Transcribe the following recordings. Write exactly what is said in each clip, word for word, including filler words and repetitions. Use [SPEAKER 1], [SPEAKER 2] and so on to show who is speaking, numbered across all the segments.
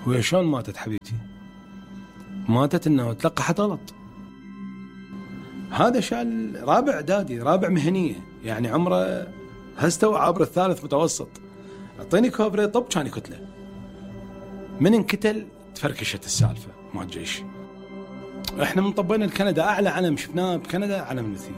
[SPEAKER 1] وهي شلون ماتت حبيبتي؟ ماتت انه تلقحت غلط. هذا شال رابع اعدادي، رابع مهنيه، يعني عمره هستوى عبر الثالث متوسط. اعطيني كوبري طب كان كتله. من انقتل تفركشت السالفه مع الجيش. احنا من طبينا لكندا، اعلى علم شفناه بكندا علم المثيل.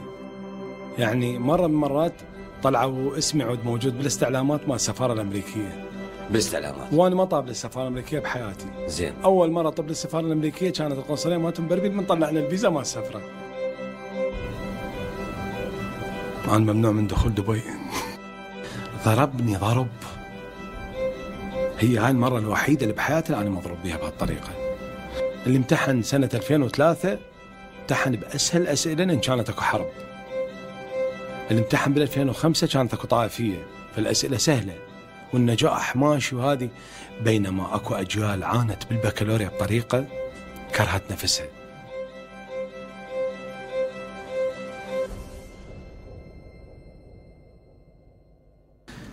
[SPEAKER 1] يعني مره من المرات طلعوا اسمي عود موجود بالاستعلامات مال السفاره الامريكيه.
[SPEAKER 2] بالاستعلامات؟
[SPEAKER 1] وانا ما طاب للسفاره الامريكيه بحياتي.
[SPEAKER 2] زين.
[SPEAKER 1] اول مره طب للسفاره الامريكيه كانت القنصليه مالتهم بربيل، من طلعنا الفيزا ما السفره. انا ممنوع من دخول دبي. ضربني ضرب، هي هاي المره الوحيده اللي بحياتي اللي انا مضروب بها بهالطريقه. اللي امتحن سنه ألفين وثلاثة امتحن باسهل اسئله لان كانت اكو حرب. اللي امتحن بال ألفين وخمسة كانت اكو طائفيه، فالاسئله سهله والنجاح ماشي وهذه. بينما اكو اجيال عانت بالبكالوريا بطريقه كرهت نفسها.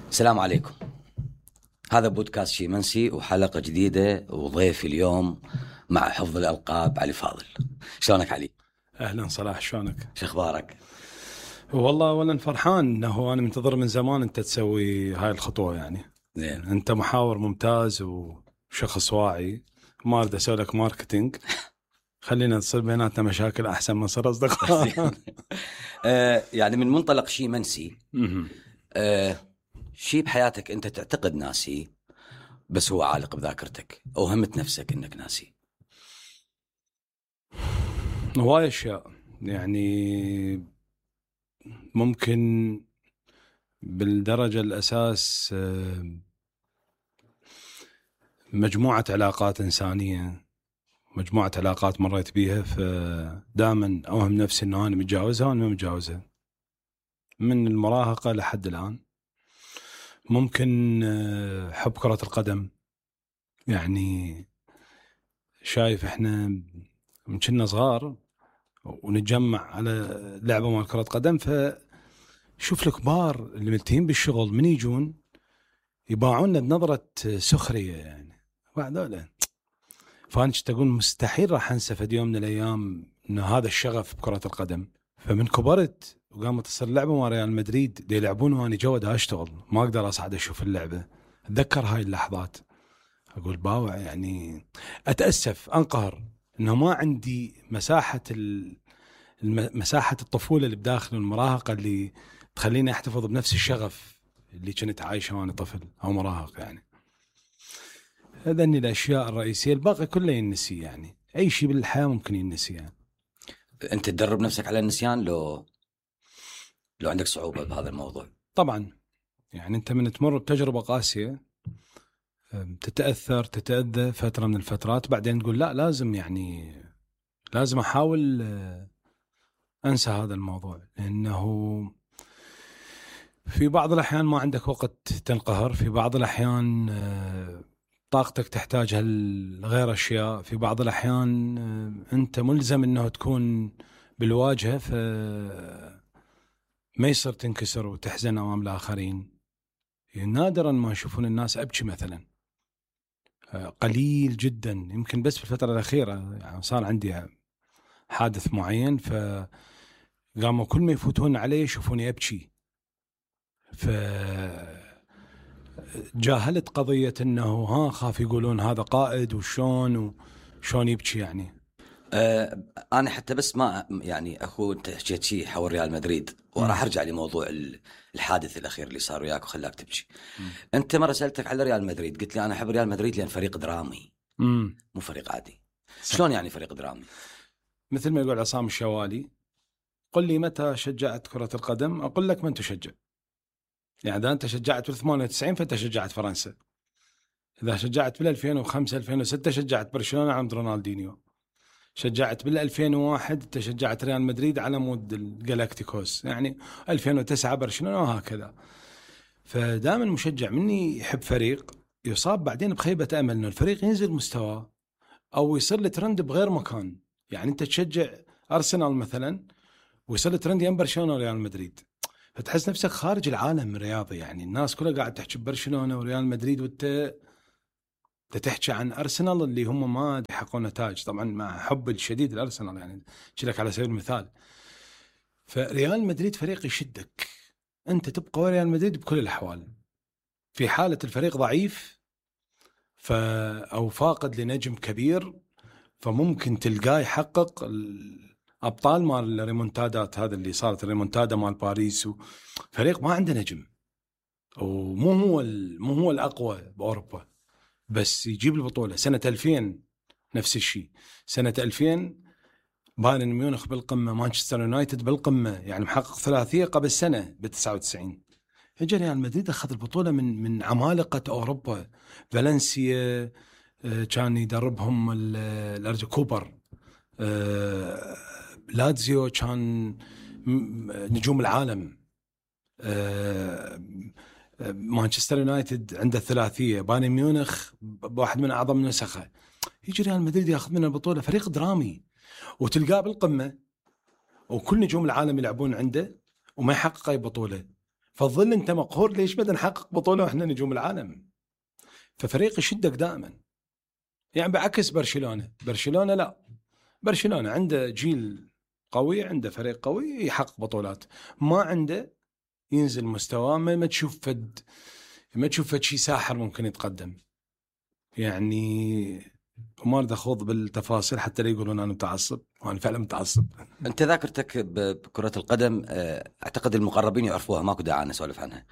[SPEAKER 2] السلام عليكم، هذا بودكاست شي منسي وحلقة جديدة، وضيفي اليوم مع حفظ الألقاب علي فاضل. شلونك علي؟
[SPEAKER 1] أهلا صلاح، شلونك؟
[SPEAKER 2] شو أخبارك؟
[SPEAKER 1] والله أولا فرحان أنه أنا منتظر من زمان أنت تسوي هاي الخطوة. يعني
[SPEAKER 2] زين.
[SPEAKER 1] أنت محاور ممتاز وشخص واعي، ما أريد أسوي لك ماركتينج. خلينا تصير بيناتنا مشاكل أحسن من صار أصدقاء.
[SPEAKER 2] آه يعني من منطلق شي منسي، آه شي بحياتك أنت تعتقد ناسي بس هو عالق بذاكرتك، أو همت نفسك أنك ناسي؟
[SPEAKER 1] هواي أشياء، يعني ممكن بالدرجة الأساس مجموعة علاقات إنسانية، مجموعة علاقات مريت بيها، فدائما أوهم نفسي أنه أنا متجاوزها وأنا ما متجاوزها من المراهقة لحد الآن. ممكن حب كرة القدم، يعني شايف إحنا من كنا صغار ونتجمع على لعبة مال كرة قدم، فشوف الكبار اللي ملتين بالشغل من يجون يباعونا بنظرة سخرية، يعني بعد فأنا تقول مستحيل راح أنسى في يوم من الأيام إنه هذا الشغف بكرة القدم. فمن كبرت وقامت تصير لعبة مع ريال مدريد دي يلعبون وأنا جوا دا أشتغل، ما أقدر أصعد أشوف اللعبة. أتذكر هاي اللحظات أقول باوع، يعني أتأسف أنقهر إنه ما عندي مساحة مساحة الطفولة اللي بداخل المراهقة اللي تخليني أحتفظ بنفس الشغف اللي كنت عايشه وأنا طفل أو مراهق. يعني هذني الأشياء الرئيسية، الباقي كله ينسي، يعني أي شيء بالحياة ممكن ينسي. يعني
[SPEAKER 2] أنت تدرب نفسك على النسيان لو لو عندك صعوبة بهذا الموضوع؟
[SPEAKER 1] طبعا، يعني أنت من تمر بتجربة قاسية تتأثر تتأذى فترة من الفترات، بعدين تقول لا لازم يعني لازم أحاول أنسى هذا الموضوع، لأنه في بعض الأحيان ما عندك وقت تنقهر، في بعض الأحيان طاقتك تحتاجها لغير أشياء، في بعض الأحيان أنت ملزم أنه تكون بالواجهة، فما يصير تنكسر وتحزن أمام الآخرين. نادرا ما يشوفون الناس أبكي مثلا، قليل جدا، يمكن بس في الفترة الأخيرة يعني صار عندي حادث معين فقاموا كل ما يفوتون علي يشوفوني أبكي، فجاهلت قضية أنه ها خاف يقولون هذا قائد وشون وشون يبكي. يعني
[SPEAKER 2] أه أنا حتى بس ما يعني أخو أنت حكيت شيء حول ريال مدريد، وراح أرجع لموضوع الحادث الأخير اللي صار وياك وخلاك تبكي. أنت مرة سألتك على ريال مدريد، قلت لي أنا أحب ريال مدريد لأن فريق درامي، مم. مو فريق عادي. صح. شلون يعني فريق درامي؟
[SPEAKER 1] مثل ما يقول عصام الشوالي، قل لي متى شجعت كرة القدم أقول لك من تشجع. يعني إذا أنت شجعت في ثمانية وتسعين فأنت شجعت فرنسا، إذا شجعت بال ألفين وخمسة ألفين وستة شجعت برشلونة عند رونالدينيو، شجعت بال ألفين وواحد أنت شجعت ريال مدريد على مود الجالاكتيكوس، يعني ألفين وتسعة برشلونة وهكذا. فدائما مشجع مني يحب فريق يصاب بعدين بخيبة أمل إنه الفريق ينزل مستوى أو يصير له ترند بغير مكان. يعني أنت تشجع أرسنال مثلا ويصير له ترند يم برشلونة وريال مدريد، فتحس نفسك خارج العالم الرياضي. يعني الناس كلها قاعد تحكي برشلونة وريال مدريد وانت تحكي عن أرسنال اللي هم ما يحققون نتائج، طبعا مع حب الشديد للأرسنال يعني لك على سبيل المثال. فريال مدريد فريق يشدك، أنت تبقى ريال مدريد بكل الأحوال. في حالة الفريق ضعيف ف أو فاقد لنجم كبير فممكن تلقاه يحقق الأبطال مال الريمونتادات، هذا اللي صارت الريمونتادا مال باريس، فريق ما عنده نجم ومو هو مو هو الأقوى بأوروبا بس يجيب البطولة. سنة ألفين نفس الشيء، سنة ألفين بايرن ميونخ بالقمة، مانشستر يونايتد بالقمة، يعني محقق ثلاثية قبل سنة بتسعة وتسعين. اجى ريال مدريد أخذ البطولة من من عمالقة أوروبا. فالنسيا كان يدربهم الأرجو كوبر، لاتزيو كان نجوم العالم، مانشستر يونايتد عنده ثلاثية، بايرن ميونخ بواحد من أعظم نسخه. يجي ريال مدريد ياخذ من البطولة، فريق درامي وتلقاه بالقمة وكل نجوم العالم يلعبون عنده وما يحقق أي بطولة. فظل أنت مقهور ليش بدنا نحقق بطولة وإحنا نجوم العالم؟ ففريق يشدك دائما، يعني بعكس برشلونة. برشلونة لا، برشلونة عنده جيل قوي، عنده فريق قوي يحقق بطولات، ما عنده ينزل مستواه، ما تشوف فد ما تشوف فد شيء ساحر ممكن يتقدم. يعني وما أريد أخوض بالتفاصيل حتى لا يقولون أنا متعصب، وأنا فعلا متعصب.
[SPEAKER 2] أنت ذاكرتك بكرة القدم أعتقد المقربين يعرفوها، ماكو داعي أنا أسولف عنها،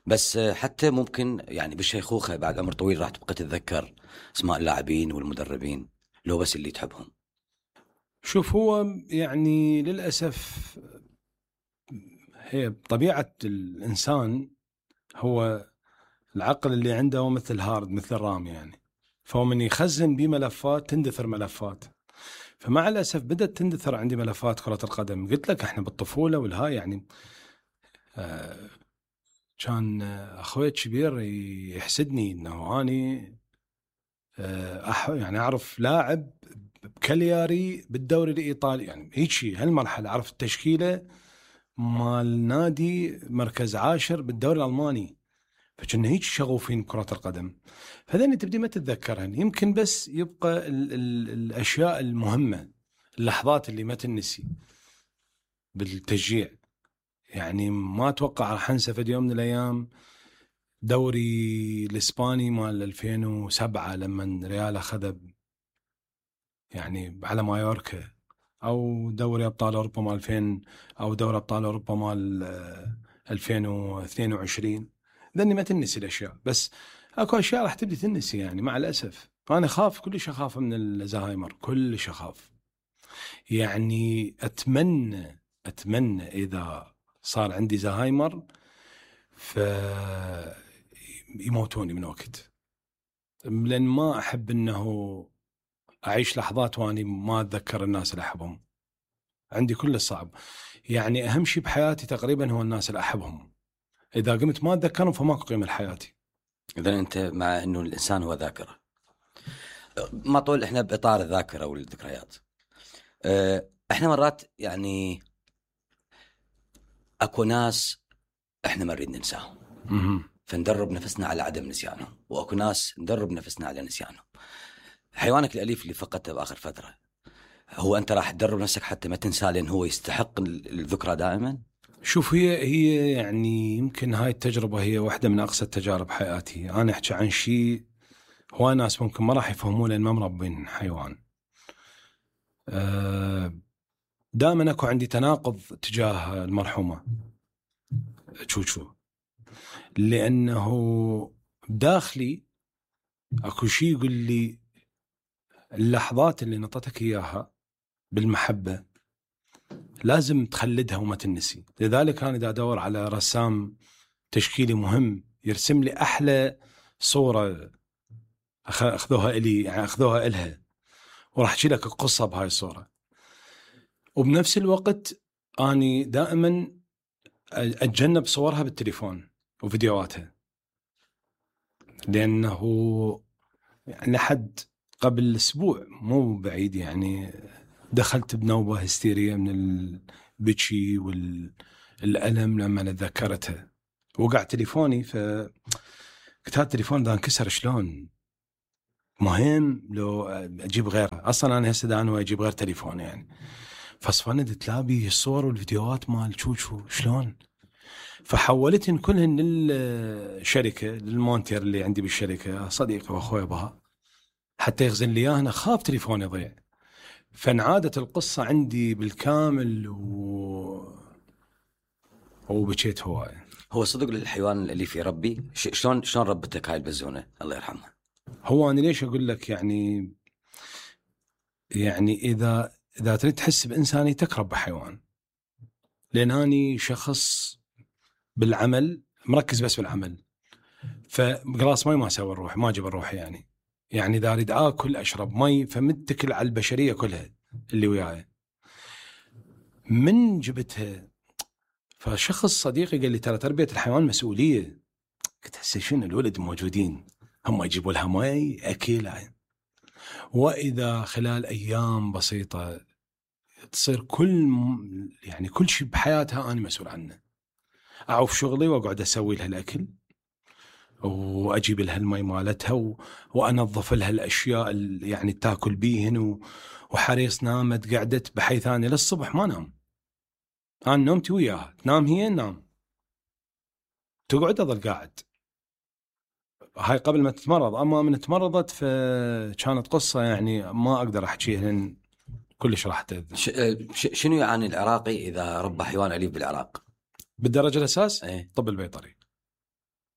[SPEAKER 2] بس حتى ممكن يعني بالشيخوخة بعد عمر طويل راح تبقى تتذكر اسماء اللاعبين والمدربين لو بس اللي تحبهم.
[SPEAKER 1] شوف، هو يعني للأسف هي طبيعة الإنسان، هو العقل اللي عنده هو مثل هارد، مثل رام يعني، فهو من يخزن بملفات تندثر ملفات. فمع الأسف بدأت تندثر عندي ملفات كرة القدم. قلت لك احنا بالطفولة والهاي يعني آه كان أخوي الكبير يحسدني إنه أني آه أح يعني أعرف لاعب بكالياري بالدوري الإيطالي، يعني هيك شيء هالمرحلة أعرف التشكيلة مال نادي مركز عاشر بالدوري الألماني. فكنا هيك شغوفين بكرة القدم. فذني تبدي ما تتذكرهن، يمكن بس يبقى ال ال الأشياء المهمة، اللحظات اللي ما تنسي بالتشجيع. يعني ما أتوقع راح أنسى في يوم من الأيام دوري الإسباني مال ألفين وسبعة لما ريال أخذ يعني على مايوركا، أو دوري أبطال أوروبا مال ألفين، أو دوري أبطال أوروبا مال ألفين واثنين وعشرين. ذني ما تنسي الأشياء، بس أكو أشياء راح تبدي تنسي يعني مع الأسف. أنا خاف، كلش أخاف من الزهايمر، كلش أخاف. يعني أتمنى أتمنى إذا صار عندي زهايمر فيموتوني من وقت، لأن ما أحب أنه أعيش لحظات وأني ما أتذكر الناس اللي أحبهم. عندي كل الصعب، يعني أهم شيء بحياتي تقريبا هو الناس اللي أحبهم. إذا قمت ما أتذكرهم فماكو قيمة لحياتي.
[SPEAKER 2] إذا أنت مع أنه الإنسان هو ذاكرة، ما طول إحنا بإطار الذاكرة والذكريات. إحنا مرات يعني أكو ناس إحنا ما نريد ننساهم فندرب نفسنا على عدم نسيانهم، وأكو ناس ندرب نفسنا على نسيانهم. حيوانك الأليف اللي فقدته بآخر فترة، هو أنت راح تدرب نفسك حتى ما تنسى لأن هو يستحق الذكرى دائما؟
[SPEAKER 1] شوف، هي هي يعني يمكن هاي التجربة هي واحدة من أقصى تجارب حياتي. أنا أحكي عن شيء هو ناس ممكن ما راح يفهمون لأن ما مربين حيوان. دائما أكو عندي تناقض تجاه المرحومة تشوشو، لأنه داخلي أكو شيء يقول لي اللحظات اللي نطتك إياها بالمحبة لازم تخلدها وما تنسي. لذلك أنا إذا أدور على رسام تشكيلي مهم يرسم لي أحلى صورة أخذوها إلي، يعني أخذوها إلها، وراح أحكي لك قصة بهاي الصورة. وبنفس الوقت أني دائما أتجنب صورها بالتليفون وفيديوهاتها، لأنه يعني لحد قبل أسبوع مو بعيد يعني دخلت بنوبة هستيرية من البكي والألم لما تذكرتها. وقع تليفوني، فقلت هذا التليفون ده انكسر شلون؟ مهم لو اجيب غيره. اصلا انا هسه انا اجيب غير تليفون يعني. فصفند تلابي الصور والفيديوهات مال شوشو شلون. فحولتهن كلهن للشركه للمونتير اللي عندي بالشركه صديقي واخوي بها حتى يخزن لي اياه. انا خاف تليفوني يضيع. فانعادت القصه عندي بالكامل و وبكيت هوايه.
[SPEAKER 2] هو صدق للحيوان اللي في ربي شلون شلون ربتك هاي البزونه الله يرحمها؟
[SPEAKER 1] هو انا ليش اقول لك يعني يعني اذا اذا تريد تحس بانسانيتك رب حيوان. لان اني شخص بالعمل مركز بس بالعمل. فقراص مي ما اسوي الروح ما اجيب الروح يعني. يعني اذا اريد اكل اشرب مي فمتكل على البشريه كلها اللي وياي. من جبتها فشخص صديقي قال لي ترى تربيه الحيوان مسؤوليه. قلت هسه شنو الولد موجودين هم يجيبوا لها مي اكل. واذا خلال ايام بسيطه تصير كل يعني كل شيء بحياتها انا مسؤول عنه. اعوف شغلي واقعد اسوي لها الاكل واجيب لها المي مالتها و... وانظف لها الاشياء اللي يعني تاكل بيهن و... وحريص نامت قعدت بحيث اني للصبح ما نام. انا نومتي وياها تنام هي نام تقعد اظل قاعد. هاي قبل ما تتمرض. اما من تمرضت فكانت قصه يعني ما اقدر احكيها لان كلش راح تأذي.
[SPEAKER 2] ش... شنو يعاني العراقي اذا ربى حيوان اليف بالعراق؟
[SPEAKER 1] بالدرجه الاساس
[SPEAKER 2] ايه؟
[SPEAKER 1] الطب البيطري.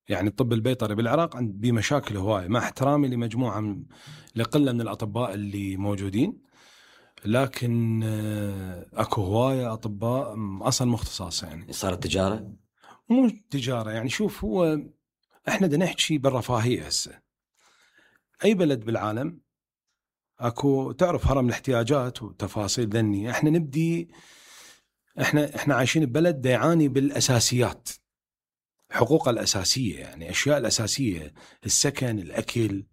[SPEAKER 1] يعني الطب البيطري بالعراق عند بيه مشاكل هوايه مع احترامي لمجموعه من لقله من الاطباء اللي موجودين. لكن اكو هوايه اطباء اصلا مختصاص يعني.
[SPEAKER 2] صارت تجاره؟
[SPEAKER 1] مو تجاره يعني. شوف هو احنا بدنا نحكي بالرفاهيه هسه. اي بلد بالعالم اكو تعرف هرم الاحتياجات وتفاصيل ذني. احنا نبدي احنا احنا عايشين ببلد يعاني بالاساسيات. حقوق الاساسيه يعني اشياء الاساسيه السكن الاكل.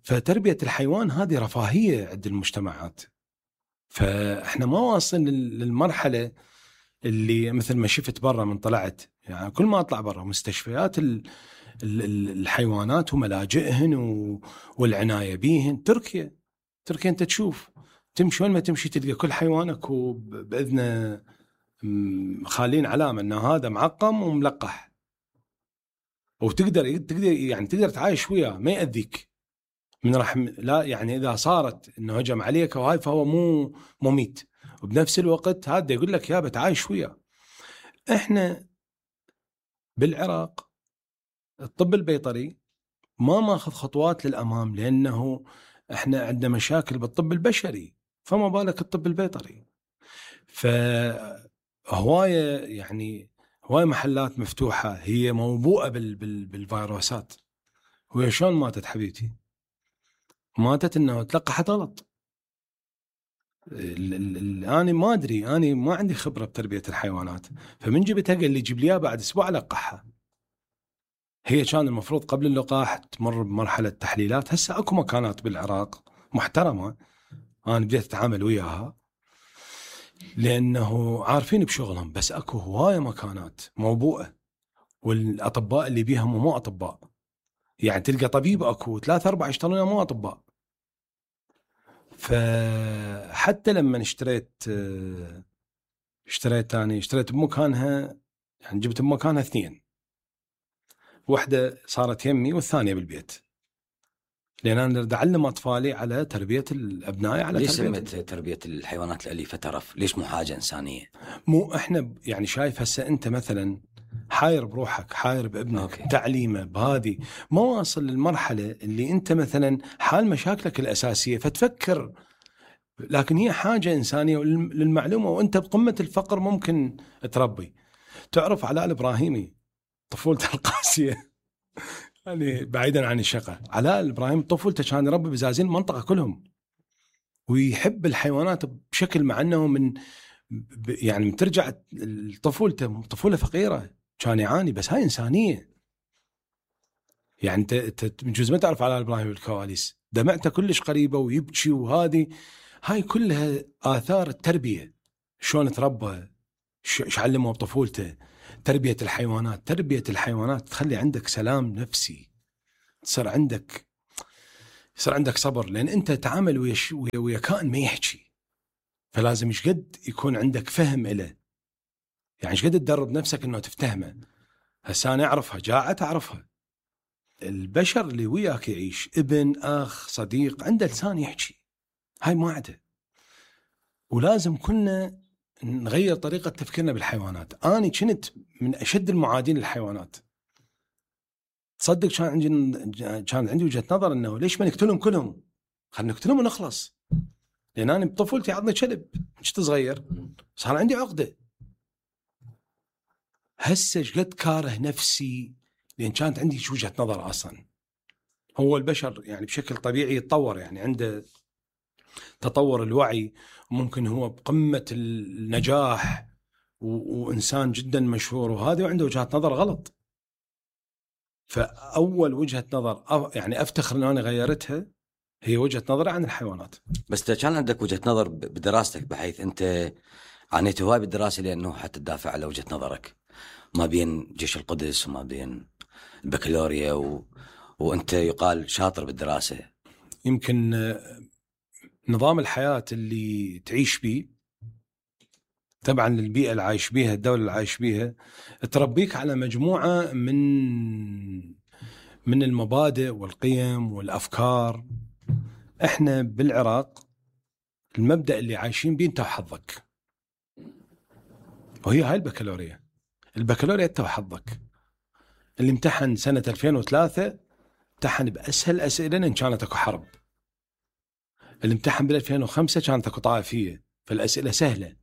[SPEAKER 1] فتربيه الحيوان هذه رفاهيه عند المجتمعات. فاحنا ما واصلين للمرحله اللي مثل ما شفت برا من طلعت يعني. كل ما اطلع برا مستشفيات الحيوانات وملاجئهن والعنايه بيهن. تركيا تركيا انت تشوف تمشي وين ما تمشي تلقى كل حيوانك وباذنه خالين علامه ان هذا معقم وملقح. وتقدر تقدر يعني تقدر تعايش وياه ما يأذيك من رحم. لا يعني اذا صارت انه هجم عليك وهاي فهو مو مميت. وبنفس الوقت هذا يقول لك يا بتعايش وياه. احنا بالعراق الطب البيطري ما ماخذ خطوات للامام لانه احنا عندنا مشاكل بالطب البشري فما بالك الطب البيطري. فهوايه يعني هوايه محلات مفتوحه هي موبوءه بال بال بالفيروسات. وهي شلون ماتت حبيبتي؟ ماتت انه تلقحت غلط. انا ما ادري انا ما عندي خبره بتربيه الحيوانات. فمن جبتها قال لي جيب لي بعد اسبوع لقحها. هي كان المفروض قبل اللقاح تمر بمرحله تحليلات. هسه اكو مكانات بالعراق محترمه انا بديت اتعامل وياها لانه عارفين بشغلهم. بس اكو هوايه مكانات موبوءه والاطباء اللي بيها مو اطباء. يعني تلقى طبيب اكو ثلاثة أربعة يشتغلون مو اطباء. فحتى لما اشتريت اشتريت ثاني اشتريت بمكانها يعني جبت بمكانها اثنين. واحدة صارت يمي والثانية بالبيت. لأن أنا أريد أعلم أطفالي على تربية الأبناء على
[SPEAKER 2] ليش
[SPEAKER 1] تربية.
[SPEAKER 2] سميت تربية الحيوانات الأليفة ترف؟ ليش مو حاجة إنسانية؟
[SPEAKER 1] مو إحنا يعني شايف هسه أنت مثلا حاير بروحك حاير بابنك أوكي. تعليمه بهذه ما واصل للمرحلة اللي أنت مثلا حال مشاكلك الأساسية فتفكر. لكن هي حاجة إنسانية للمعلومة. وأنت بقمة الفقر ممكن تربي. تعرف علاء الإبراهيمي طفولته القاسية يعني بعيدا عن الشقة. علاء الإبراهيمي طفولته كان يربي بزازين المنطقة كلهم ويحب الحيوانات بشكل مع أنه من يعني ترجع طفولته طفولة فقيرة كان يعاني. بس هاي إنسانية يعني. أنت جزء ما تعرف علاء الإبراهيمي بالكواليس دمعته كلش قريبة ويبكي. وهذه هاي كلها آثار التربية. شلون تربى شو علمه بطفولته. تربية الحيوانات تربية الحيوانات تخلي عندك سلام نفسي. تصير عندك يصير عندك صبر، لان انت تتعامل ويا ويا, ويا كائن ما يحكي، فلازم ايش قد يكون عندك فهم له، يعني ايش قد تدرب نفسك انه تفتهمه. هسه انا اعرفها جاعت اعرفها. البشر اللي وياك يعيش، ابن، اخ، صديق، عنده لسان يحكي، هاي ما عنده. ولازم كلنا نغير طريقة تفكيرنا بالحيوانات. أنا كنت من أشد المعادين للحيوانات. تصدق كان عندي كان عندي وجهة نظر إنه ليش ما نقتلهم كلهم؟ خلينا نقتلهم ونخلص. لأن أنا بطفولتي عضني كلب كنت صغير، صار عندي عقدة. هسه قد كاره نفسي لأن كانت عندي وجهة نظر أصلا. هو البشر يعني بشكل طبيعي يتطور، يعني عنده تطور الوعي، ممكن هو بقمة النجاح وإنسان جدا مشهور، وهذا وعنده وجهة نظر غلط. فأول وجهة نظر يعني أفتخر أن أنا غيرتها هي وجهة نظري عن الحيوانات.
[SPEAKER 2] بس كان عندك وجهة نظر بدراستك، بحيث أنت عانيت هواي بالدراسة لأنه حتى تدافع على وجهة نظرك ما بين جيش القدس وما بين البكالوريا و... وأنت يقال شاطر بالدراسة.
[SPEAKER 1] يمكن نظام الحياة اللي تعيش به، طبعا البيئة اللي عايش بيها، الدولة اللي عايش بيها، تربيك على مجموعة من من المبادئ والقيم والأفكار. احنا بالعراق المبدأ اللي عايشين بيه انت وحظك، وهي هاي البكالوريا. البكالوريا انت وحظك. اللي امتحن سنة ألفين وثلاثة امتحن بأسهل أسئلة لأن كانت اكو حرب. اللي امتحن بال ألفين وخمسة كانت اكو طائفية، فالأسئلة سهلة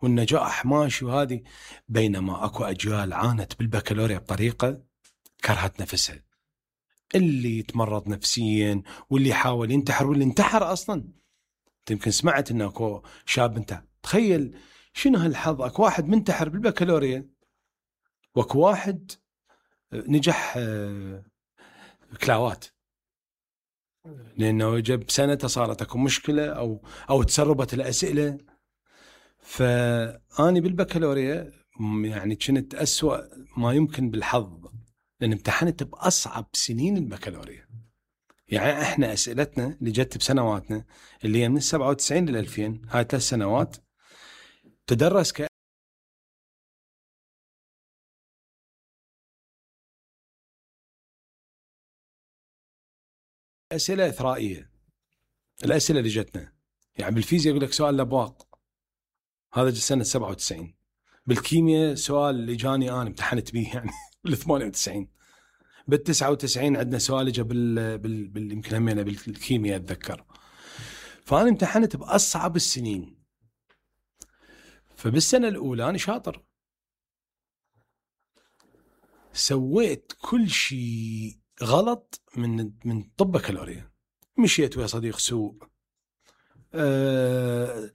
[SPEAKER 1] والنجاح ماشي وهذه. بينما اكو أجيال عانت بالبكالوريا بطريقة كرهت نفسها، اللي يتمرض نفسيا واللي يحاول ينتحر واللي انتحر أصلا. يمكن سمعت انه اكو شاب انتحر. تخيل شنو هالحظ، اكو واحد منتحر بالبكالوريا واكو واحد نجح كلاوات لانه جاب سنته صارت اكو مشكله او او تسربت الاسئله. فاني بالبكالوريا يعني كنت أسوأ ما يمكن بالحظ، لان امتحنت باصعب سنين البكالوريا. يعني احنا اسئلتنا اللي جت بسنواتنا اللي هي من سبعة وتسعين لل ألفين، هاي ثلاث سنوات تدرس ك أسئلة إثرائية. الأسئلة اللي جتنا يعني بالفيزياء يقول لك سؤال الأبواق، هذا جت سنة سبعة وتسعين. بالكيمياء سؤال اللي جاني أنا امتحنت به يعني بال ثمانية وتسعين. بال تسعة وتسعين عندنا سؤال جا بال بال بال يمكن همينا بالكيمياء أتذكر. فأنا امتحنت بأصعب السنين. فبالسنة الأولى أنا شاطر، سويت كل شيء غلط من من طب بكالوريا. مشيت ويا صديق سوء، أه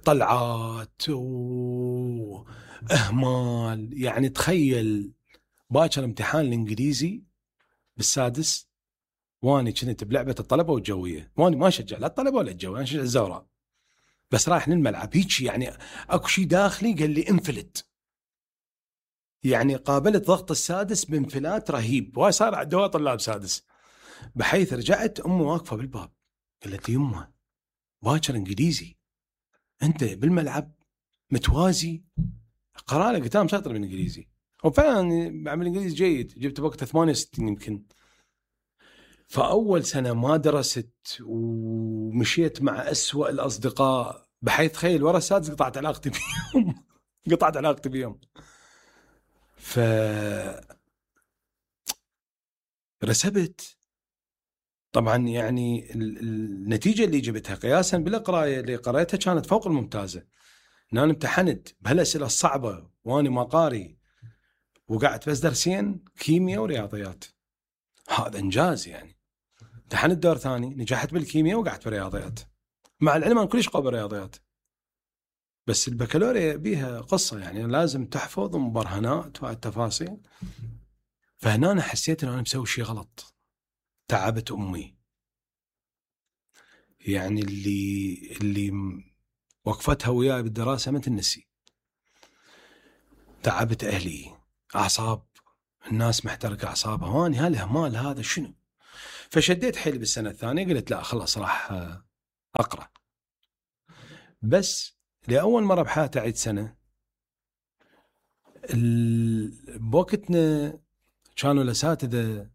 [SPEAKER 1] طلعات وأهمال. يعني تخيل باكر امتحان الإنجليزي بالسادس واني كنت بلعبة الطلبة والجوية، واني ما شجع لا الطلبة ولا الجوية، أنا شجع الزوراء بس رايح للملعب هيك. يعني أكو شيء داخلي قال لي انفلت. يعني قابلت ضغط السادس بانفلات رهيب، وهاي صار عندها طلاب سادس. بحيث رجعت أمي واقفة بالباب قالت لي يمه باكر إنجليزي أنت بالملعب متوازي. قرأ لك قلت أنا شاطر بالإنجليزي، وفعلا بعمل إنجليزي جيد، جبت وقت ثمانية وستين يمكن. فأول سنة ما درست ومشيت مع أسوأ الأصدقاء، بحيث تخيل ورا السادس قطعت علاقتي بيهم قطعت علاقتي بيهم. ف رسبت طبعا. يعني النتيجة اللي جبتها قياسا بالقراية اللي قرأتها كانت فوق الممتازة. أنا امتحنت بهالأسئلة الصعبة وأنا ما قاري، وقعدت بس درسين كيمياء ورياضيات. هذا إنجاز. يعني امتحنت دور ثاني نجحت بالكيمياء وقعدت بالرياضيات، مع العلم أنا كلش قوي بالرياضيات. بس البكالوريا بيها قصة، يعني لازم تحفظ مبرهنات والتفاصيل. فهنا أنا حسيت أن أنا مسوي شيء غلط. تعبت أمي، يعني اللي اللي وقفتها وياي بالدراسة ما تنسي. تعبت أهلي، أعصاب الناس محترقة أعصابها، واني هالإهمال هذا شنو؟ فشديت حيلي بالسنة الثانية، قلت لا خلاص راح أقرأ. بس لأول مرة بحياتي أعيد سنة. بوقتنا كانوا الأساتذة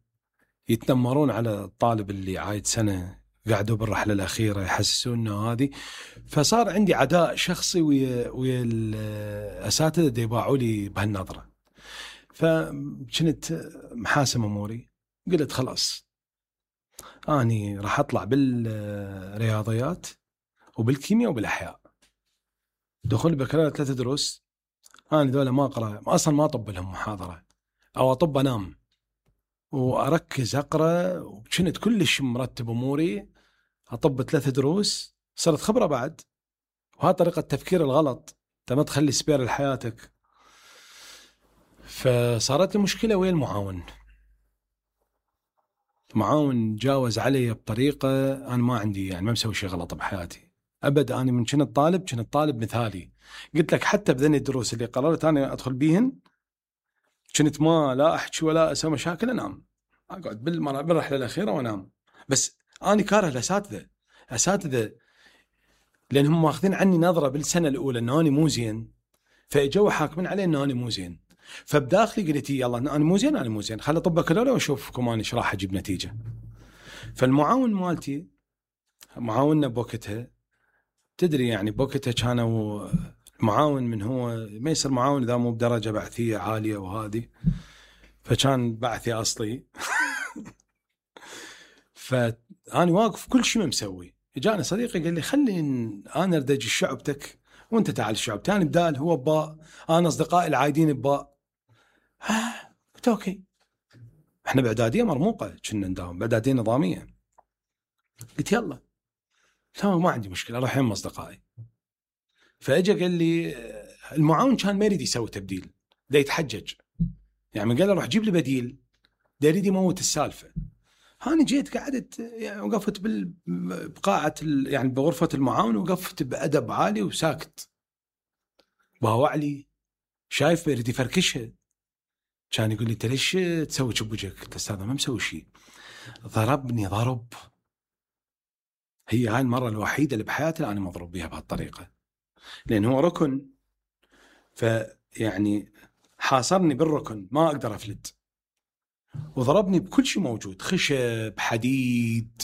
[SPEAKER 1] يتنمرون على الطالب اللي عايد سنة، قعدوا بالرحلة الأخيرة يحسسوننا هذه. فصار عندي عداء شخصي ويا ويا الأساتذة دي يباعوا لي بهالنظرة. فكنت محاسم أموري، قلت خلاص أني راح أطلع بالرياضيات وبالكيمياء وبالأحياء. دخول بكالوريا ثلاثة دروس، أنا دولة ما أقرأ أصلا، ما أطب لهم محاضرة أو أطب أنام وأركز أقرأ، وكنت كلش مرتب أموري. أطب ثلاثة دروس، صرت خبرة بعد. وهذا طريقة التفكير الغلط، أنت ما تخلي سبير لحياتك. فصارت لي مشكلة ويا المعاون. معاون جاوز علي بطريقة أنا ما عندي، يعني ما مسوي شيء غلط بحياتي أبد. أنا من كنت طالب كنت طالب مثالي. قلت لك حتى بذني الدروس اللي قررت أنا أدخل بيهن، كنت ما لا أحكي ولا أسوي مشاكل، أنام أقعد بالرحلة الأخيرة وأنام. بس أنا كاره الأساتذة أساتذة لأنهم ماخذين عني نظرة بالسنة الأولى أنه أنا مو زين، فإجوا حاكمين علي أنه أنا مو زين. فبداخلي قلت يلا أنا مو زين أنا مو زين، خلي طب بكالوريا وأشوفكم أنا إيش راح أجيب نتيجة. فالمعاون مالتي، معاوننا بوقتها تدري يعني بوقتها كانوا المعاون من هو ما يصير معاون إذا مو بدرجة بعثية عالية وهذه، فكان بعثي أصلي. فأنا واقف كل شيء ما مسوي. جاني صديقي قال لي خلي أنا أردج شعبتك وأنت تعال الشعب تاني بدال. هو باء، أنا أصدقائي العايدين بباء. ها قلت أوكي. إحنا بإعدادية مرموقة كنا نداوم بإعدادية نظامية. قلت يلا تمام ما عندي مشكلة أروح يم أصدقائي. فأجا قال لي المعاون كان ما يريد يسوي تبديل، دا يتحجج يعني، قال له روح جيب لي بديل، دا يريد يموت السالفة. هاني جيت قعدت يعني وقفت بقاعة يعني بغرفة المعاون، وقفت بأدب عالي وساكت. باوع لي شايف يريد يفركشها. كان يقول لي انت ليش تسوي شبوجك؟ قلت استاذ ما مسوي شيء. ضربني ضرب، هي هاي المرة الوحيدة اللي بحياتي أنا مضروب بها بهالطريقة، لأن هو ركن، فيعني حاصرني بالركن ما أقدر أفلت، وضربني بكل شيء موجود، خشب حديد،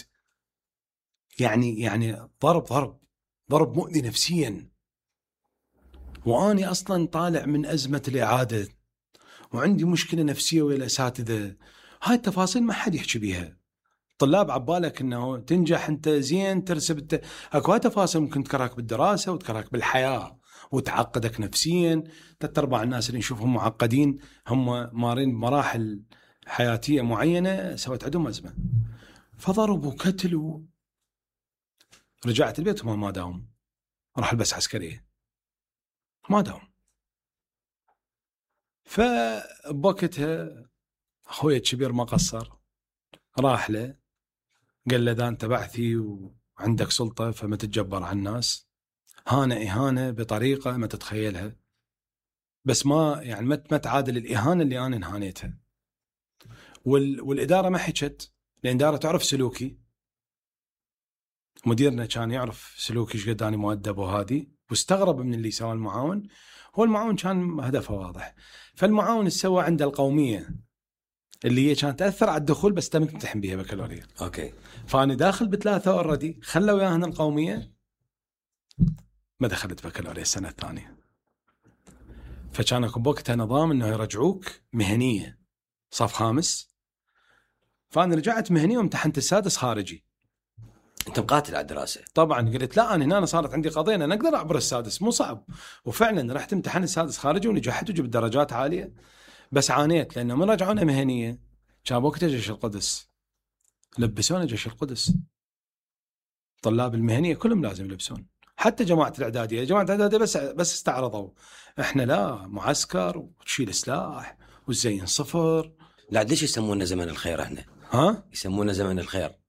[SPEAKER 1] يعني يعني ضرب ضرب ضرب مؤذي نفسيا. وأني أصلا طالع من أزمة الإعادة وعندي مشكلة نفسية ويا الأساتذة. هاي التفاصيل ما حد يحكي بيها. طلاب عبالك انه تنجح انت زين ترسب انت، اكو تفاصيل ممكن تكرهك بالدراسه وتكرهك بالحياه وتعقدك نفسيا. ثلاث ارباع الناس اللي نشوفهم معقدين هم مارين بمراحل حياتيه معينه سوت عندهم ازمه. فضربوا وكتلوا. رجعت البيت وما ما داوم، راح البس عسكريه ما داوم. فبوقتها اخوي الكبير ما قصر، راح له قال له ذا أنت بعثي وعندك سلطة فما تتجبر على الناس. هانة إهانة بطريقة ما تتخيلها، بس ما يعني ما تعادل الإهانة اللي أنا انهانيتها. وال والإدارة ما حكت، لأن الإدارة تعرف سلوكي، مديرنا كان يعرف سلوكي ايش قد أنا مؤدب وهادي، واستغرب من اللي سوى المعاون. هو المعاون كان هدفه واضح. فالمعاون سوى عنده القومية اللي هي كانت تأثر على الدخول، بس تم تمتحن بها بكالوريا.
[SPEAKER 2] أوكي.
[SPEAKER 1] فأنا داخل بثلاثة أوردي، خلوا ياهن القومية، ما دخلت بكالوريا السنة الثانية. فكان أكو بوقتها نظام إنه يرجعوك مهنية صف خامس. فأنا رجعت مهنية وامتحنت السادس خارجي.
[SPEAKER 2] أنت مقاتل على الدراسة
[SPEAKER 1] طبعا. قلت لا أنا هنا صارت عندي قضية أنا أقدر أعبر السادس مو صعب. وفعلا رحت امتحن السادس خارجي ونجحت وجبت درجات عالية، بس عانيت لأنه من رجعونا مهنية كان وقتها جيش القدس، لبسونا جيش القدس. طلاب المهنية كلهم لازم يلبسون، حتى جماعة الإعدادية. جماعة الإعدادية بس بس استعرضوا، إحنا لا، معسكر وتشيل سلاح والزين صفر.
[SPEAKER 2] لا ليش يسمونا زمن الخير هنا؟
[SPEAKER 1] ها؟
[SPEAKER 2] يسمونا زمن الخير،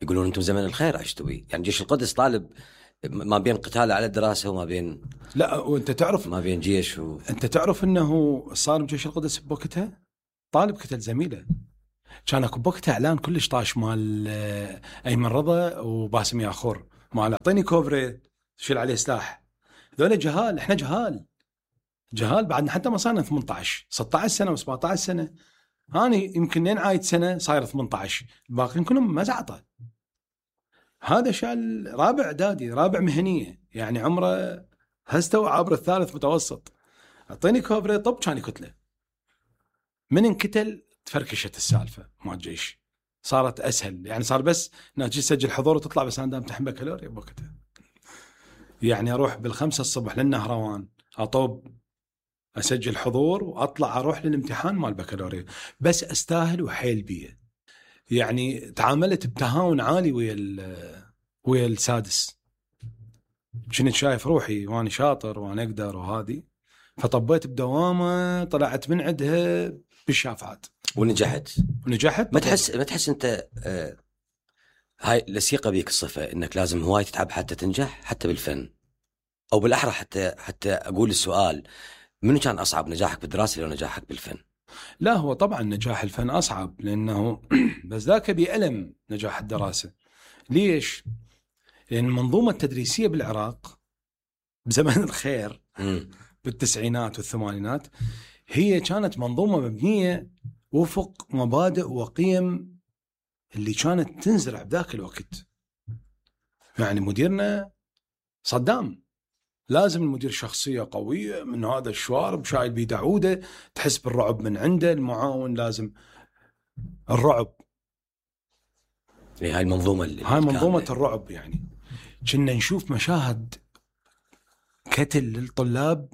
[SPEAKER 2] يقولون أنتم زمن الخير عشتوا بيه. يعني جيش القدس طالب ما بين قتال على الدراسة وما بين
[SPEAKER 1] لا، وأنت تعرف
[SPEAKER 2] ما بين جيش و...
[SPEAKER 1] أنت تعرف إنه صار بجيش القدس بوقتها طالب قتل زميله. كان اكو بوقتها اعلان كلش طاش مال ايمن رضا وباسم ياخور مال اعطيني كوبري شيل عليه سلاح. ذولا جهال، احنا جهال جهال بعدنا حتى ما صارنا ثمانية عشر ستة عشر سنه و17 سنه. انا يمكن لين عايد سنه صاير ثمانية عشر، الباقيين كلهم مزعطه. هذا شال رابع اعدادي رابع مهنيه، يعني عمره هستوى عبر الثالث متوسط. اعطيني كوبري طب كان يكتله. من انكتل تفركشت السالفه مال الجيش، صارت اسهل، يعني صار بس ناجي تسجل حضور وتطلع، بس انا دام امتحن بكالوريا بوقتها. يعني اروح بالخمسة الصبح للنهروان اطوب اسجل حضور واطلع اروح للامتحان مال بكالوريا، بس استاهل وحيل بيه. يعني تعاملت بتهاون عالي ويا ويا السادس، كنت شايف روحي وانا شاطر وانا اقدر وهذه، فطبيت بدوامه طلعت من عندها بالشافعات
[SPEAKER 2] ونجحت
[SPEAKER 1] ونجحت.
[SPEAKER 2] ما تحس ما تحس انت آه هاي لسيقه بيك الصفه انك لازم هواي تتعب حتى تنجح، حتى بالفن، او بالاحرى حتى حتى اقول السؤال منو كان اصعب، نجاحك بالدراسه لو نجاحك بالفن؟
[SPEAKER 1] لا هو طبعا نجاح الفن اصعب، لانه بس ذاك بيألم نجاح الدراسه. ليش؟ لان المنظومه التدريسيه بالعراق بزمن الخير بالتسعينات والثمانينات هي كانت منظومه مبنيه وفق مبادئ وقيم اللي كانت تنزرع بذاك الوقت. يعني مديرنا صدام، لازم المدير شخصية قوية من هذا الشوارب شايل بيده عودة، تحس بالرعب من عنده. المعاون لازم الرعب،
[SPEAKER 2] هاي المنظومة اللي
[SPEAKER 1] هاي منظومة الرعب. يعني كنا نشوف مشاهد قتل للطلاب،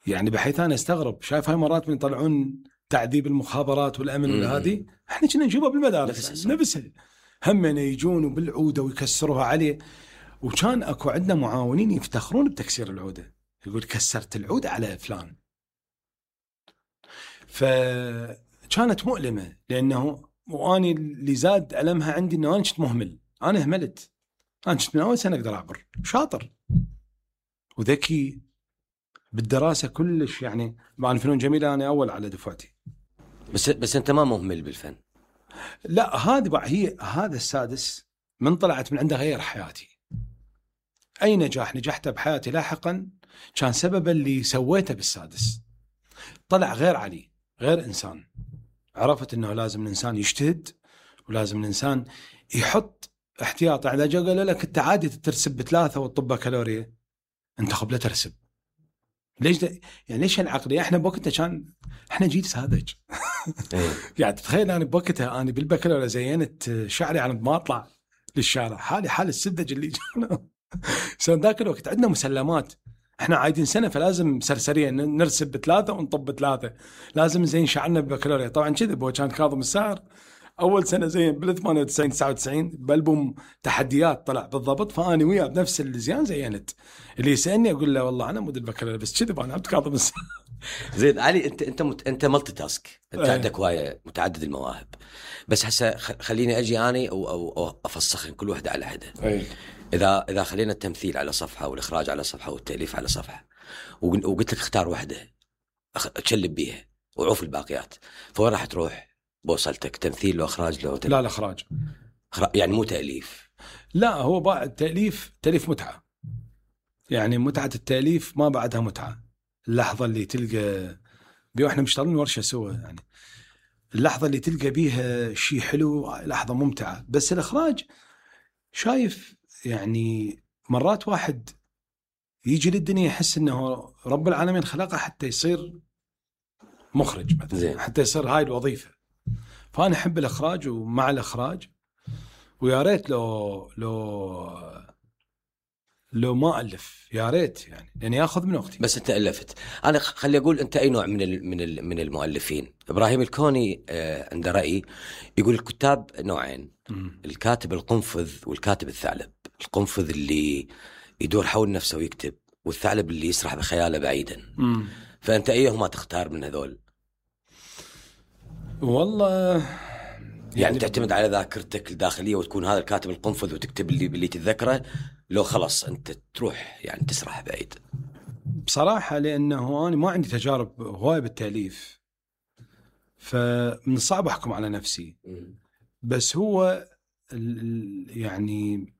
[SPEAKER 1] يعني بحيث أنا استغرب. شايف هاي مرات من يطلعون تعذيب المخابرات والأمن والهذه، احنا كنا نشوفها بالمدارس نفسها، هم يجون وبالعودة ويكسروها عليه. وكان اكو عندنا معاونين يفتخرون بتكسير العودة، يقول كسرت العودة على فلان. فكانت مؤلمة، لأنه واني اللي زاد ألمها عندي أنه أنا كنت مهمل، أنا هملت، أنا كنت من أول سنة أقدر أعبر، شاطر وذكي بالدراسة كلش. يعني مع الفنون جميلة أنا أول على دفعتي.
[SPEAKER 2] بس بس أنت ما مهمل بالفن؟
[SPEAKER 1] لا هذه بقى هي، هذا السادس من طلعت من عنده غير حياتي. أي نجاح نجحته بحياتي لاحقا كان سبب اللي سويته بالسادس. طلع غير علي، غير إنسان. عرفت أنه لازم الإنسان يجتهد، ولازم الإنسان يحط احتياط. إذا جاء قال لك أنت عادي ترسب بثلاثة والطب بكالوريا، أنت خب لا ترسب. ليش ده؟ يعني ليش العقلية؟ إحنا بوقتها كان إحنا جيل ساذج. يعني تخيل أنا بوقتها أنا بالبكالوريا زينت شعري على ما أطلع للشارع، حالي حال السذج اللي جانا. سنة ذاك الوقت عندنا مسلمات، احنا عايدين سنه فلازم سرسريه نرسب بثلاثه ونطب بثلاثه، لازم زين شعرنا بالبكالوريا. طبعا كذا هو كان كاظم الساهر اول سنه زين بال ثمانية وتسعين تسعة وتسعين بالبوم تحديات طلع بالضبط، فاني وياه بنفس الزيان زينت. اللي يسالني اقول له والله انا مدير البكالوريا بس كذا انا عبد كاظم الساهر.
[SPEAKER 2] زين علي، انت انت مت... انت ملتي تاسك، انت
[SPEAKER 1] ايه.
[SPEAKER 2] عندك هوايه متعدد المواهب، بس هسه خليني اجي اني او او, أو افسخن كل وحده على حده.
[SPEAKER 1] ايه.
[SPEAKER 2] اذا اذا خلينا التمثيل على صفحه والاخراج على صفحه والتاليف على صفحه، وقلت لك اختار وحده تشلب بيها وعوف الباقيات، فوين راح تروح بوصلتك؟ تمثيل لو اخراج لو
[SPEAKER 1] لا الاخراج
[SPEAKER 2] يعني مو تاليف؟
[SPEAKER 1] لا هو بعد التاليف، تاليف متعه، يعني متعه التاليف ما بعدها متعه. اللحظه اللي تلقى بيو احنا مشتغلين ورشه سوا، يعني اللحظه اللي تلقى بيها شيء حلو لحظه ممتعه. بس الاخراج شايف يعني مرات واحد يجي للدنيا يحس انه رب العالمين خلقه حتى يصير مخرج مثلا، حتى يصير هاي الوظيفه. فانا احب الاخراج ومع الاخراج، ويا ريت لو لو لو ما الف، يا ريت يعني لان ياخذ من وقتي.
[SPEAKER 2] بس انت الفت. انا خلي اقول انت اي نوع من ال من ال من المؤلفين. ابراهيم الكوني آه عنده راي يقول الكتاب نوعين، م. الكاتب القنفذ والكاتب الثعلب. القنفذ اللي يدور حول نفسه ويكتب، والثعلب اللي يسرح بخياله بعيدا. م. فانت ايهما تختار من هذول؟
[SPEAKER 1] والله
[SPEAKER 2] يعني, يعني تعتمد على ذاكرتك الداخليه وتكون هذا الكاتب القنفذ وتكتب اللي اللي تتذكره، لو خلص انت تروح يعني تسرح بعيد؟
[SPEAKER 1] بصراحه لانه انا ما عندي تجارب هوايه بالتاليف، فمن الصعب احكم على نفسي. بس هو يعني